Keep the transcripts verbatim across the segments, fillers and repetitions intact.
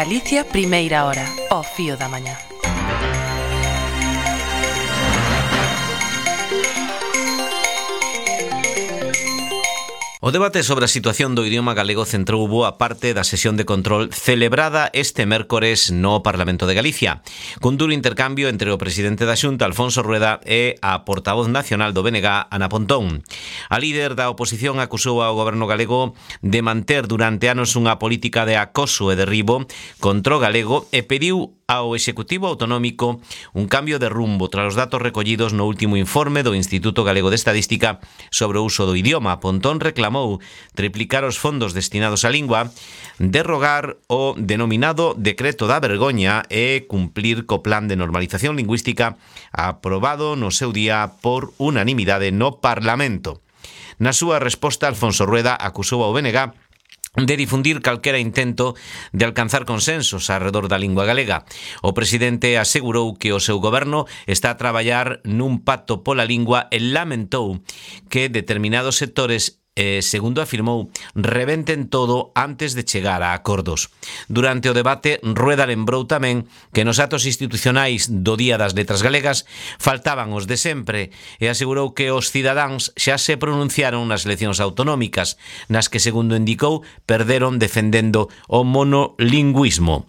Galicia, primeira hora, ao fío da mañá. O debate sobre a situación do idioma galego centrou boa parte da sesión de control celebrada este mércores no Parlamento de Galicia, cun duro intercambio entre o presidente da Xunta, Alfonso Rueda, e a portavoz nacional do B N G, Ana Pontón. A líder da oposición acusou ao goberno galego de manter durante anos unha política de acoso e derribo contra o galego e pediu ao Executivo Autonómico un cambio de rumbo tras os datos recollidos no último informe do Instituto Galego de Estadística sobre o uso do idioma. Pontón reclamou triplicar os fondos destinados á lingua, derrogar o denominado Decreto da Vergoña e cumplir co plan de normalización lingüística aprobado no seu día por unanimidade no Parlamento. Na súa resposta, Alfonso Rueda acusou ao B N G de difundir calquera intento de alcanzar consensos arredor da lingua galega. O presidente asegurou que o seu goberno está a traballar nun pacto pola lingua e lamentou que determinados sectores, eh, segundo afirmou, rebenten todo antes de chegar a acordos. Durante o debate, Rueda lembrou tamén que nos actos institucionais do Día das Letras Galegas faltaban os de sempre e asegurou que os cidadáns xa se pronunciaron nas eleccións autonómicas, nas que, segundo indicou, perderon defendendo o monolingüismo.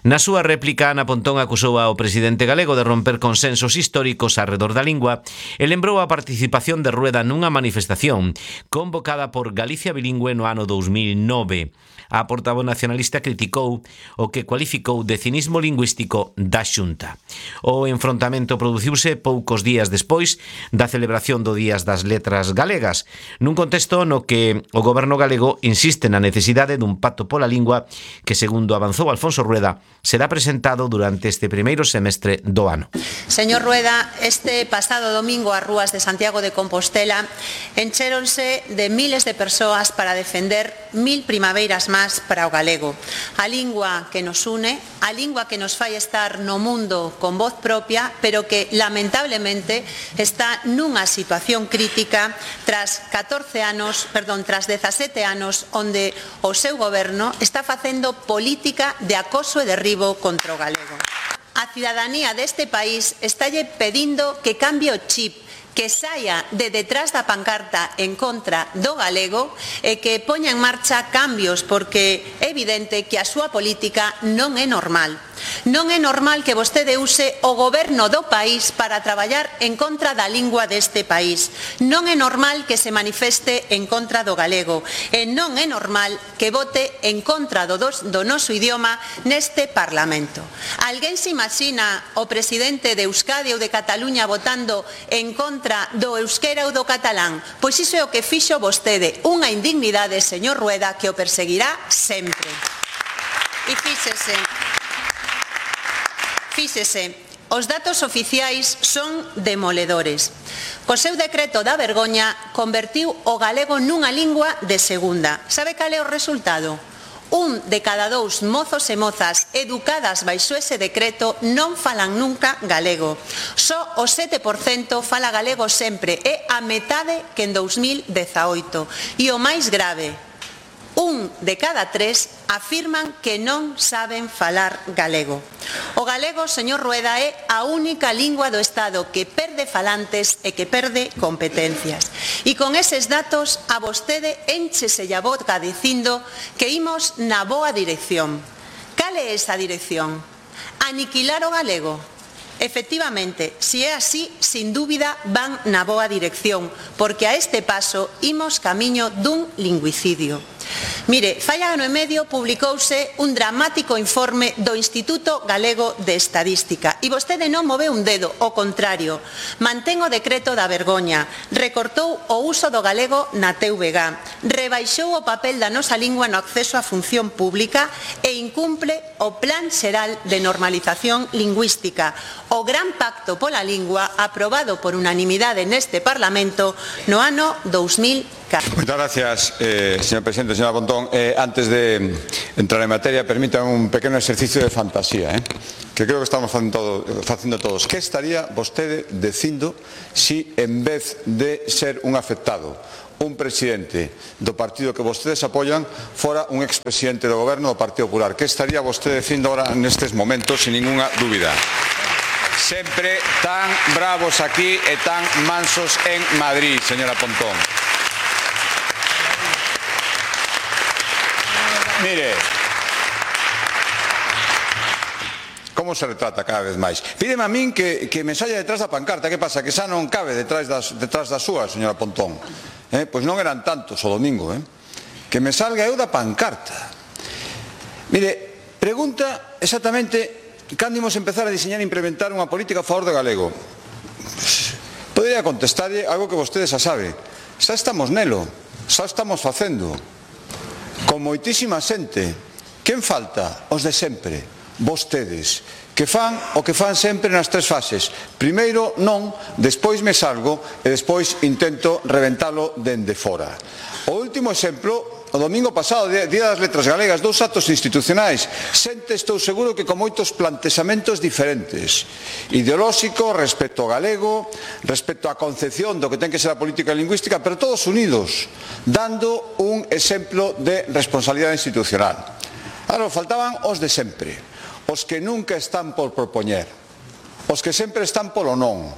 Na súa réplica, Ana Pontón acusou ao presidente galego de romper consensos históricos arredor da lingua e lembrou a participación de Rueda nunha manifestación convocada por Galicia Bilingüe no ano dous mil nove. A portavoz nacionalista criticou o que cualificou de cinismo lingüístico da Xunta. O enfrontamento produciuse poucos días despois da celebración do Días das Letras Galegas, nun contexto no que o goberno galego insiste na necesidade dun pacto pola lingua que, segundo avanzou Alfonso Rueda, será presentado durante este primeiro semestre do ano. Señor Rueda, este pasado domingo as rúas de Santiago de Compostela enchéronse de miles de persoas para defender mil primaveiras máis para o galego. A lingua que nos une, a lingua que nos fai estar no mundo con voz propia, pero que lamentablemente está nunha situación crítica tras catorce anos, perdón, tras dezasete anos onde o seu goberno está facendo política de acoso e derribo contra o galego. A cidadanía deste país estálle pedindo que cambie o chip, que saia de detrás da pancarta en contra do galego e que poña en marcha cambios, porque é evidente que a súa política non é normal. Non é normal que vostede use o goberno do país para traballar en contra da lingua deste país. Non é normal que se manifeste en contra do galego. E non é normal que vote en contra do, dos, do noso idioma neste Parlamento. Alguén se imagina o presidente de Euskadi ou de Cataluña votando en contra do euskera ou do catalán? Pois iso é o que fixo vostede. Unha indignidade, señor Rueda, que o perseguirá sempre. E fíxese... Fíxese, os datos oficiais son demoledores. Co seu decreto da vergoña convertiu o galego nunha lingua de segunda. Sabe cal é o resultado? Un de cada dous mozos e mozas educadas baixo ese decreto non falan nunca galego. Só o sete por cento fala galego sempre, é a metade que en dous mil dezaoito. E o máis grave, un de cada tres afirman que non saben falar galego. O galego, señor Rueda, é a única lingua do Estado que perde falantes e que perde competencias. E con eses datos a vostede énchese a boca dicindo que imos na boa dirección. Cal é esa dirección? Aniquilar o galego? Efectivamente, si é así, sin dúbida van na boa dirección, porque a este paso imos camiño dun lingüicidio. Mire, fai ano e medio publicouse un dramático informe do Instituto Galego de Estadística e vostede non moveu un dedo, ao contrario, mantén o decreto da vergoña, recortou o uso do galego na T V G, rebaixou o papel da nosa lingua no acceso á función pública e incumple o Plan Xeral de Normalización Lingüística, o gran pacto pola lingua aprobado por unanimidade neste Parlamento no ano dous mil catro. Muchas gracias, eh, señor presidente. Señora Pontón, eh, antes de entrar en materia, permítanme un pequeno exercicio de fantasía, eh, que creo que estamos facendo, todo, facendo todos. Que estaría vostede dicindo si, en vez de ser un afectado un presidente do partido que vostedes apoian fora un expresidente do goberno do Partido Popular. Que estaría vostede dicindo ahora nestes momentos, sin ninguna dúbida? Sempre tan bravos aquí e tan mansos en Madrid, señora Pontón. Mire, como se retrata cada vez máis. Pídeme a min que, que me saia detrás da pancarta. Que pasa? Que xa non cabe detrás das, detrás das súas, señora Pontón. Eh? Pois non eran tantos o domingo. Eh? Que me salga eu da pancarta. Mire, pregunta exactamente cando imos empezar a diseñar e implementar unha política a favor do galego. Podería contestarlle algo que vostede xa sabe. Xa estamos nelo. Xa estamos facendo. Con moitísima xente. Quen falta? Os de sempre. Vostedes, que fan o que fan sempre nas tres fases. Primeiro non, despois me salgo e despois intento reventalo dende fora. O último exemplo, o domingo pasado, Día das Letras Galegas, dous actos institucionais. Xente, estou seguro que con moitos plantexamentos diferentes, ideolóxico respecto ao galego, respecto á concepción do que ten que ser a política lingüística, pero todos unidos, dando un exemplo de responsabilidade institucional. Ahora, faltaban os de sempre, os que nunca están por propoñer, os que sempre están polo non,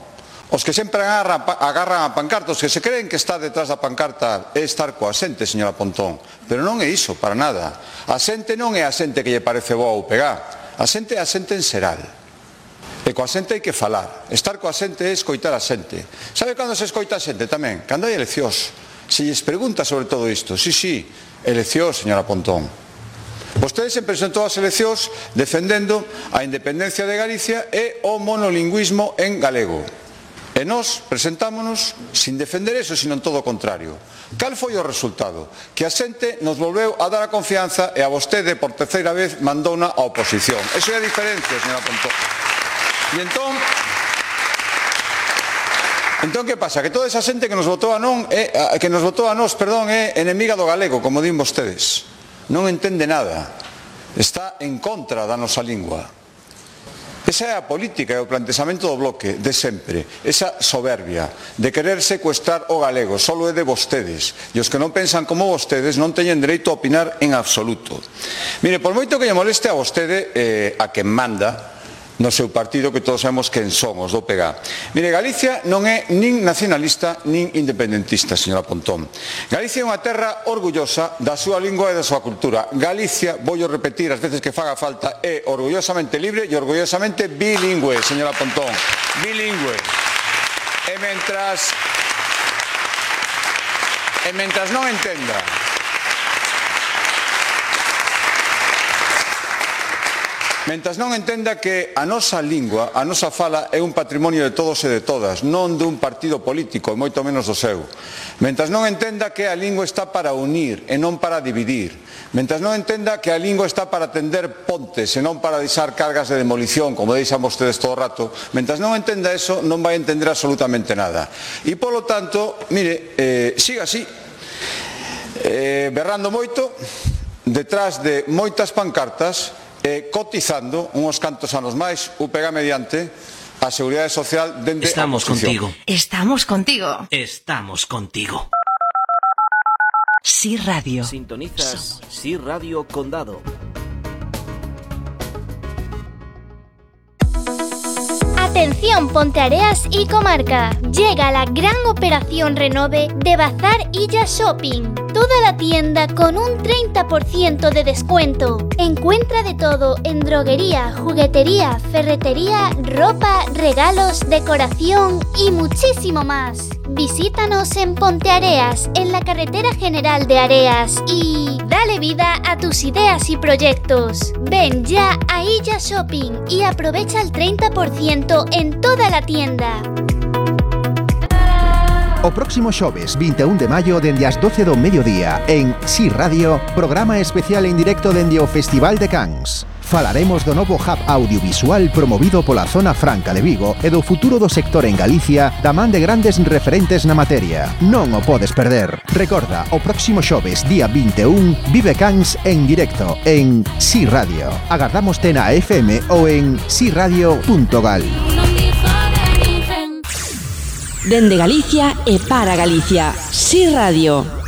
os que sempre agarran, agarran a pancarta, os que se creen que está detrás da pancarta é estar coa xente, señora Pontón, pero non é iso, para nada. A xente non é a xente que lle parece boa ou pegar, a xente é a xente en xeral. E coa xente hai que falar, estar coa xente é escoitar a xente. Sabe cando se escoita a xente tamén? Cando hai eleccións. Se lles pregunta sobre todo isto, sí, sí, eleccións, señora Pontón. Vostede se presentou ás eleccións defendendo a independencia de Galicia e o monolingüismo en galego. E nós presentámonos sin defender eso, sino en todo o contrario. Cal foi o resultado? Que a xente nos volveu a dar a confianza e a vostede, por terceira vez, mandouna a oposición. Eso é a diferencia, señora Pontón. E entón, entón que pasa? Que toda esa xente que nos votou a non, é, que nos votou a nós, perdón, é enemiga do galego, como din vostedes. Non entende nada. Está en contra da nosa lingua. Esa é a política e o plantexamento do bloque de sempre, esa soberbia de querer secuestrar o galego, solo é de vostedes, e os que non pensan como vostedes non teñen dereito a opinar en absoluto. Mire, por moito que lle moleste a vostede, eh, a quen manda no seu partido, que todos sabemos quen son, os do P G. Mire, Galicia non é nin nacionalista nin independentista, señora Pontón. Galicia é unha terra orgullosa da súa lingua e da súa cultura. Galicia, voy a repetir as veces que faga falta, é orgullosamente libre e orgullosamente bilingüe, señora Pontón. Bilingüe. E mentras e mentras non entenda Mentras non entenda que a nosa lingua, a nosa fala é un patrimonio de todos e de todas, non dun partido político, e moito menos do seu. Mentras non entenda que a lingua está para unir e non para dividir. Mentras non entenda que a lingua está para tender pontes e non para deixar cargas de demolición, como deixan vostedes todo o rato. Mentras non entenda eso, non vai entender absolutamente nada. E, polo tanto, mire, eh, siga así, eh, berrando moito, detrás de moitas pancartas, Eh, cotizando unhos cantos anos máis, U P G mediante, a Seguridade Social dende Estamos a oposición. contigo. Estamos contigo. Estamos contigo. Sí Radio. Sintonizas Sí Radio Condado. Atención Ponteareas y comarca. Llega la gran operación renove de Bazar Illa Shopping. Toda la tienda con un treinta por ciento de descuento. Encuentra de todo en droguería, juguetería, ferretería, ropa, regalos, decoración y muchísimo más. Visítanos en Ponteareas, en la carretera general de Areas, y dale vida a tus ideas y proyectos. Ven ya a Illa Shopping y aprovecha el treinta por ciento en toda la tienda. O próximo xoves vinte e un de maio dende as doce do mediodía en Sí Radio, programa especial en directo dende o Festival de Cans. Falaremos do novo hub audiovisual promovido pola Zona Franca de Vigo e do futuro do sector en Galicia da man de grandes referentes na materia. Non o podes perder. Recorda, o próximo xoves, día vinte e un, vive Cans en directo en Sí Radio. Agardámoste na F M ou en si radio punto gal. Dende Galicia e para Galicia. Si Radio.